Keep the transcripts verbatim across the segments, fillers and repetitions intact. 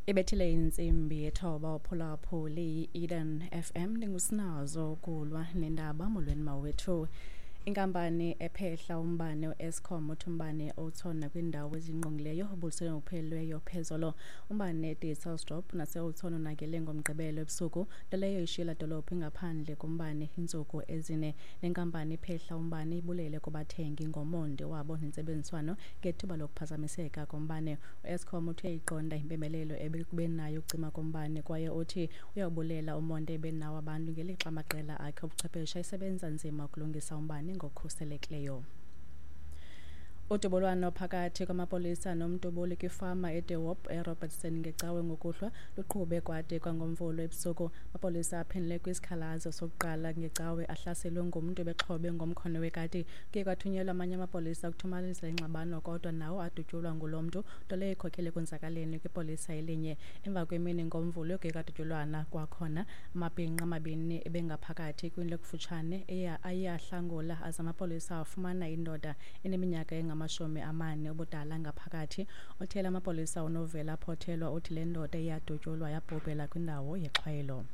Ibethile intsimbi yethoba uphulaphuli i-Eden F M, ndingusinazo kulwa nendaba. Molweni mawethu. Inkampani ephehla umbane u-Eskom uthi umbane e-Oudtshoorn nakwiindawo ezingqongileyo ubuliselwe ngokupheleleyo phezolo. Umbane eDysselsdorp nase-Oudtshoorn unakele ngoMgqibelo ebusuku, nto leyo ishiye laa dolophu ingaphandle kombane iintsuku ezine. Le nkampani iphehla umbane ibulele kubathengi ngomonde wabo nentsebenziswano ngethuba lokuphazamiseka kombane. U-Eskom uthi uyayiqonda impembelelo ebekubenayo ukucima kombane kwaye uthi uyawubulela umonde ebenawo abantu ngelixa amaqela akhe obuchwephesha esebenza nzima ukulungisa umbane ngokukhuselekileyo. Udubulwano phakathi kwamapolisa nomdubuli kwifama eDe Hoop eRobertson ngeCawe ngokuhlwa luqhube kwade kwangoMvulo ebusuku. Amapolisa aphendule kwisikhalazo sokuqala ngeCawe ahlaselwe ngumntu ebexhobe ngomkhono wekati. Kuye kwathunyelwa amanye amapolisa ukuthomalalisa ingxabano, kodwa nawo adutyulwa ngulo mntu, nto leyo ikhokelele ekonzakaleni kwipolisa elinye. Emva kwemini ngoMvulo kuye kwadutyulwana kwakhona. Amabhinqa amabini ebengaphakathi kwindlu ekufutshane aye ahlangula aze amapolisa afumana indoda eneminyaka engamashumi amane ubudala ngaphakathi. Othela amapolisa uNovela Phothelwa uthi le ndoda iyadutyulwa yabhubhela kwindawo yexhwayelo.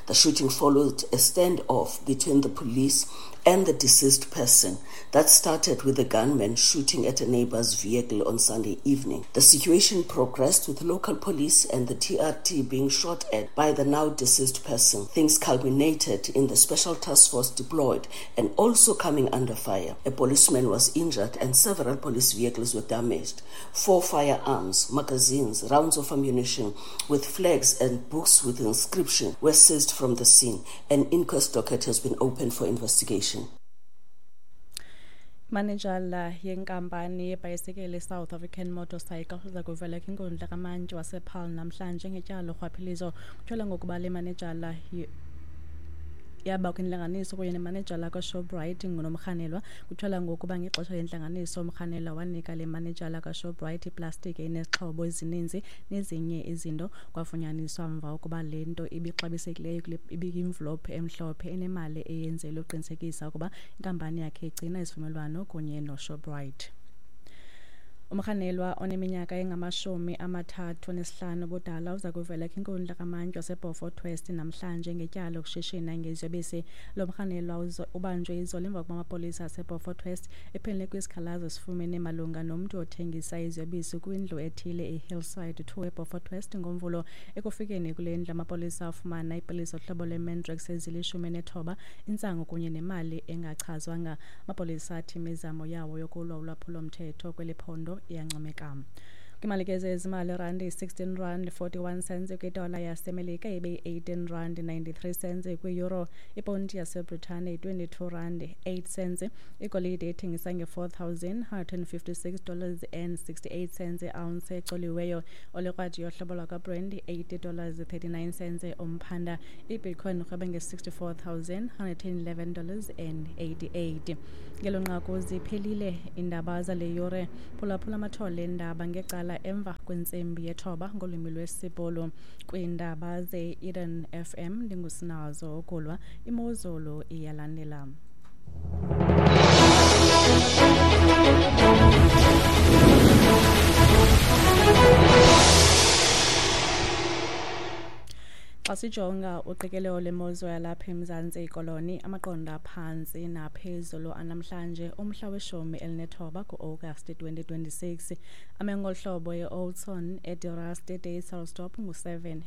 The shooting followed a standoff between the police and the deceased person that started with the gunman shooting at a neighbor's vehicle on Sunday evening. The situation progressed with local police and the T R T being shot at by the now deceased person. Things culminated in the special task force deployed and also coming under fire. A policeman was injured and several police vehicles were damaged. Four firearms, magazines, rounds of ammunition with flags and books with inscription were seized from the scene. An inquest docket has been opened for investigation. Manejala yenkampani yebhayisikili South African Motorcycle uza kuvela kwinkundla kamantyi wasePaarl namhlanje ngetyala lorhwaphilizo. Kutyholwa ngokuba le manejala yaba kwintlanganiso kunye nemanejala kaShoprite nomrhanelwa. Kutyholwa ngokuba ngexesha lentlanganiso umrhanelwa wanika le manejala kaShoprite iplastiki enezixhobo ezininzi nezinye izinto. Kwafunyaniswa mva ukuba le nto ibixabisekileyo ibiyimvulophu emhlophe enemali eyenzelwe ukuqinisekisa ukuba inkampani yakhe igcina isivumelwano kunye noShoprite. Umrhanelwa oneminyaka engamashumi amathathu anesihlanu ubudala uza kuvela kwinkundla kamantyi waseBeaufort West namhlanje ngetyala lokushishina ngeziyobisi. Lo mrhanelwa ubanjwe izolo emva kokuba amapolisa aseBeaufort West ephendule kwisikhalazo esifumene malunga nomntu othengisa iziyobisi kwindlu ethile eHillside two eBeaufort West ngoMvulo. Ekufikeni kule ndlu, amapolisa afumana iipilisi zohlobo lweMandrax ezilishumi nethoba, intsangu kunye nemali engachazwanga. Amapolisa athi imizamo yawo yokulwa ulwaphulo-mthetho kweli phondo iyancomeka. Kwimali ke zezimali, irandi yi-sixteen rand forty-one cents kwidola yaseMelika, ibe yi-eighteen rand ninety-three cents kwi-euro. Iponti yaseBritane yi-twenty-two rand eight cents. Igolide ithengisa nge-four thousand hundred and fifty-six dollars and sixty-eight cents iounce ecoliweyo. Olekrwada yohlobo lwakwaBrent eighty dollars thirty-nine cents umphanda. IBitcoin irhweba nge-sixty-four thousand hundred and eleven dollars and eighty-eight. Ngelo nqaku ziphelile iindaba zale yure. Phulaphula amathole eendaba ngecala emva kwentsimbi yethoba ngolwimi lwesiBhulu. Kwiindaba ze-Eden F M, ndingusinazo ukulwa. Imozulu iyalandela. Xa sijonga uqikelelo lwemozulu yalapha eMzantsi Koloni, amaqondo aphantsi naphezulu anamhlanje umhla weshumi elinethoba kuAgasti twenty twenty-six, ame ngolu hlobo: eOudtshoorn, eDe Rust, eDysselsdorp ngu-seven.